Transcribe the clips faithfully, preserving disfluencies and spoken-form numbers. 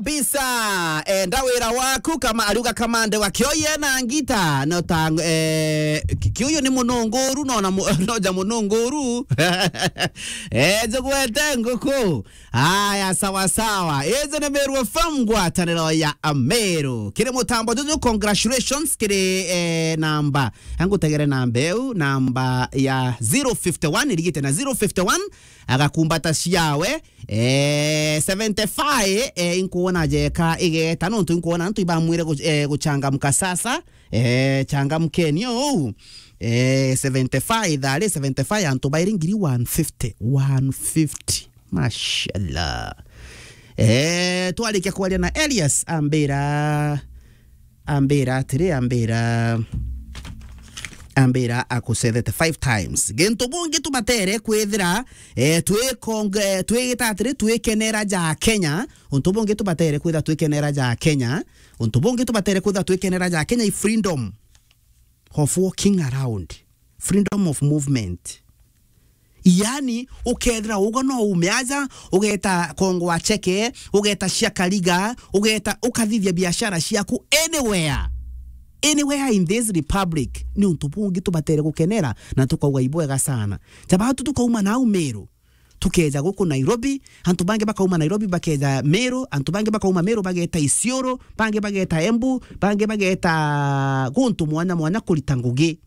Bisa, enda wira waku kama ariuga kamande wa kioye na ngita, no ta, eh, ki-, kiuyu ni mununguru, no na mu-, no ja mununguru. Eh, njugwete nguku. Aya, sawa sawa. Iji ni Meru F M, ngwataniro ya Ameru. Kiri mutambo juju, congratulations kiri, eh, namba. Angutegere namba eu, namba ya zero fifty one, irigite na zero fifty one, agakumbata ciawe. Eh, seventy-five, eh, inkuona jeka igeta, nontu inkuona antu ibamwire gu-, eh, guchangamka sasa. Eh, changamkeni ou. Eh, seventy-five, thari seventy-five, antu bairi ngiri one fifty, one fifty. Mashallah. Eh, twarikia kwaria na Elias, ambira, ambira atiri, ambira, ambira akucethete five times. Gintu bungi tubatere kwithira, eh, twikong-, eh, twigita atiri, twikenera ja Kenya. Untu bungi tubatere kwithira twikenera ja Kenya. Untu bungi tubatere kwithira twikenera ja Kenya i freedom of walking around, freedom of movement. Yani, ukethira ugo no ume aja, ugeta Kongo wa Cheke, ugeta cia Kariga, ugeta, ukathithia biashara ciaku anywhere. Anywhere in this republic. Ni untu bungi tubatere gukenera, na tukauga ibwega sana. Jabatu tukauma nau Meru, tukeja guku Nairobi, antu bangi bakauma Nairobi bakeja Meru, antu bangi bakauma Meru bageta Isiolo, bangi bageta Embu, bangi bageta guntu mwanya mwanya kurita ngugi.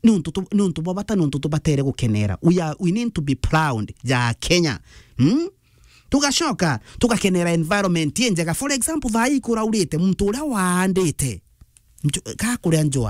Ni untu tu-, ni untu bwa bata, ni untu tubatere gukenera. We are, we need to be proud ja Kenya. Hmm? Tugacoka, tugakenera environment injega. For example, thaa ii kuraurite, muntu uria waandite, nju-, ka kuria njua,